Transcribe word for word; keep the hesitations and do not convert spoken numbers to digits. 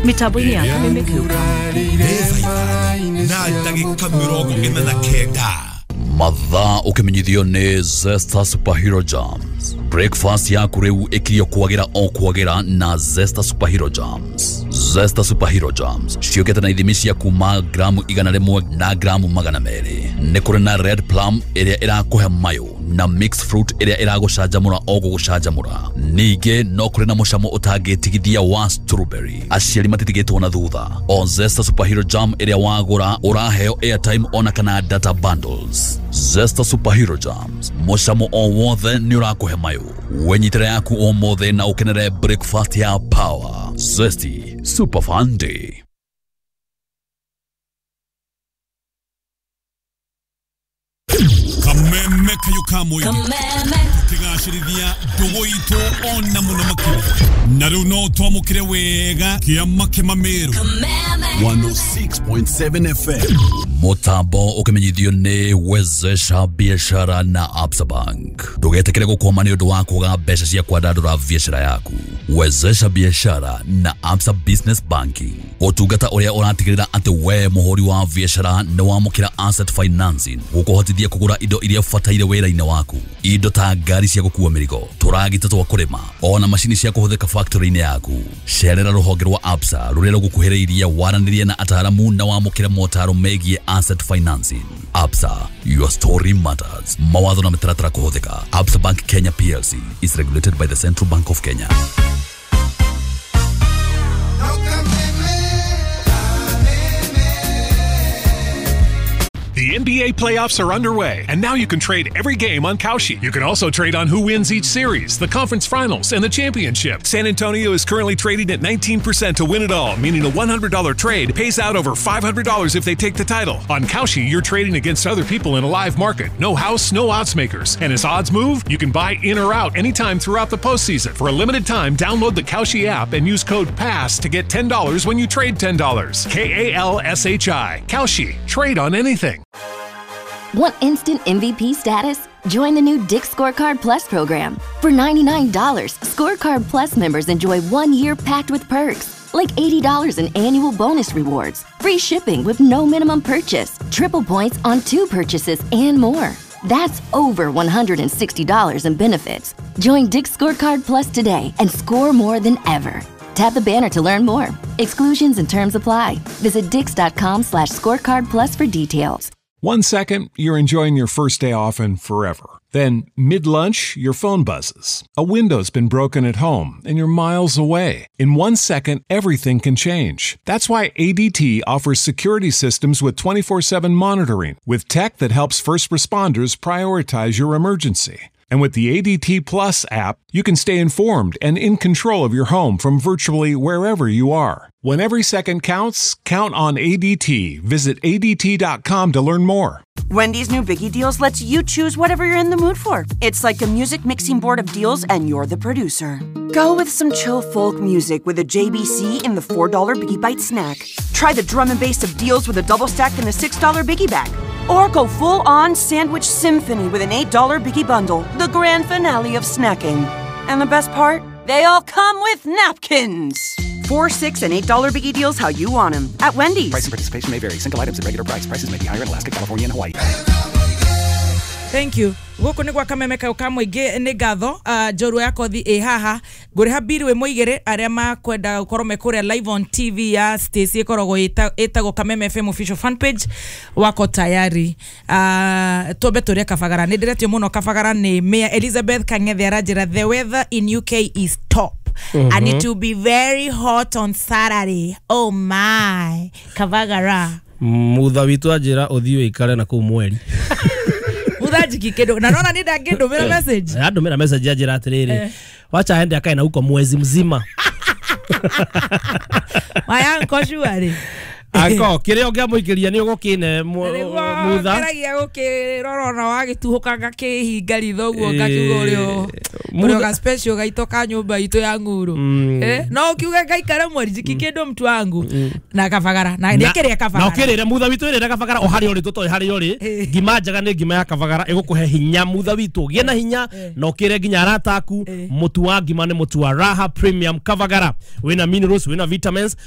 Mitambo-inĩ ya Kameme. Na ndagĩka mĩrongo ĩna na kenda. Mathaa ũkĩmenyithio nĩ Zesta Superhero Jams. Breakfast yaku rĩu ĩkirio kwagĩra o kwagĩra na Zesta Superhero Jams. Zesta Superhero Jams ciũkĩte na ithimi cia kuma gramu igana rĩmwe na gramu magana merĩ. Nĩ kũrĩ na red plum ĩrĩa ĩrakũhe mayũ na mixed fruit ĩrĩa ĩragũcanjamũra o gũgũcanjamũra. Ningĩ no kũrĩ na mũcamo ũtangĩtigithia wa strawberry. Aciari matitigĩtwo na thutha. O Zesta Superhero Jam ĩrĩa wagũra ũraheo airtime ona kana data bundles. Zesta Superhero Jams, mũcamo o wothe nĩ ũrakũhe mayũ. Wenyitĩre yaku ũmũthĩ na ũkenere breakfast ya power. Zesty Super Fun Day. Kameme kayo kamwe tukigacĩrithia ndũgũ itũ ona mũno makĩria na rĩu no twamũkĩre wega kĩama kĩmamĩrũ one oh six point seven F M. Mutambo ũkĩmenyithio nĩ Wezesha Biashara na Absa Bank. Ndũgetĩkĩre gũkwama nĩ ũndũ wa kwaga mbeca cia kwandandũra biashara yaku. Wezesha Biashara na Absa Business Banking, ũtungata ũrĩa ũratigĩrĩra atĩ we mũhũri wa biashara nĩ wamũkĩra asset financing gũkũhotithia kũgũra indo iria ũbataire wĩra-inĩ waku, indo ta ngari cia gũkua mĩrigo, tũragita twa kũrĩma, ona macini cia kũhũthĩka factory-inĩ yaku. Cerera rũhonge rwa Absa rũrĩa rũgũkuhĩrĩirie, waranĩrie na ataaramu na wamũkĩre motaro megiĩ asset financing. Absa, your story matters. Mawatho na mĩtaratara kũhũthĩka. Absa Bank Kenya P L C is regulated by the Central Bank of Kenya. The N B A playoffs are underway, and now you can trade every game on Kalshi. You can also trade on who wins each series, the conference finals, and the championship. San Antonio is currently trading at nineteen percent to win it all, meaning a one hundred dollar trade pays out over five hundred dollars if they take the title. On Kalshi, you're trading against other people in a live market. No house, no odds makers. And as odds move, you can buy in or out anytime throughout the postseason. For a limited time, download the Kalshi app and use code PASS to get ten dollars when you trade ten dollars. K A L S H I. Kalshi. Trade on anything. Want instant M V P status? Join the new Dick's Scorecard Plus program. For ninety-nine dollars, Scorecard Plus members enjoy one year packed with perks, like eighty dollars in annual bonus rewards, free shipping with no minimum purchase, triple points on two purchases, and more. That's over one hundred sixty dollars in benefits. Join Dick's Scorecard Plus today and score more than ever. Tap the banner to learn more. Exclusions and terms apply. Visit dicks.com slash scorecard plus for details. One second, you're enjoying your first day off and forever. Then, mid-lunch, your phone buzzes. A window's been broken at home, and you're miles away. In one second, everything can change. That's why A D T offers security systems with twenty-four seven monitoring, with tech that helps first responders prioritize your emergency. And with the A D T Plus app, you can stay informed and in control of your home from virtually wherever you are. When every second counts, count on A D T. Visit A D T dot com to learn more. Wendy's new Biggie Deals lets you choose whatever you're in the mood for. It's like a music mixing board of deals, and you're the producer. Go with some chill folk music with a J B C in the four dollar Biggie Bite snack. Try the drum and bass of deals with a double stack in the six dollar Biggie Bag. Or go full-on sandwich symphony with an eight dollar Biggie Bundle, the grand finale of snacking. And the best part? They all come with napkins! Four, six, and eight dollar Biggie Deals how you want them at Wendy's. Price and participation may vary. Single items at regular price. Prices may be higher in Alaska, California, and Hawaii. Thank you. Guku nĩ gwa Kameme kaũ ka mũingĩ nĩ ngatho uh, njorua ya kothi ĩ haha ngũrĩha biru ĩ mũigĩrĩ arĩa makwenda gũkorwo me kũrĩa live on T V ya Stacy ĩkoragwo ĩtagwo Kameme F M official fan page wako tayari. uh, twambe tũrĩe Kabagara. Nĩ ndĩretio mũno Kabagara nĩ Mayor Elizabeth Kang'ethe aranjĩra the weather in U K is top. Mm-hmm. And it will be very hot on Saturday. Oh my Kabagara. Mutha witũ anjĩra ũthiĩ ũikare na kũu mweri. Muthanjiki kindu na nona ni ndangĩndũmĩra message. Andũmĩra message anjĩra atĩrĩrĩ, wacha aende akae na huko mwezi mzima. My uncle surely. Anko kĩrĩa ũngĩamũikĩria nĩ ũgũkĩne mutha. Ngeragia gũkĩrora ona wagĩtuhũka ngakĩhinga ritho ũguo ngakiuga ũrĩa ũrĩa ga special gaitũ ka nyũmba itũ ya ng'uru. Eh no ukiuga ngaikara mweri njiki kĩndũ mtu wangu na Kabagara na nĩkĩrĩa Kabagara. Na ũkĩrĩre mutha witũ ĩrĩre Kabagara o harĩa ũrĩ tũtoĩ harĩa ũrĩ. Ngima njega nĩ ngima ya Kabagara ĩgũkũhe hinya mutha witũ gĩe na hinya na ũkĩre nginya arata aku. Mũtu wa ngima nĩ mũtu wa Raha Premium Kabagara wĩna minerals wĩna vitamins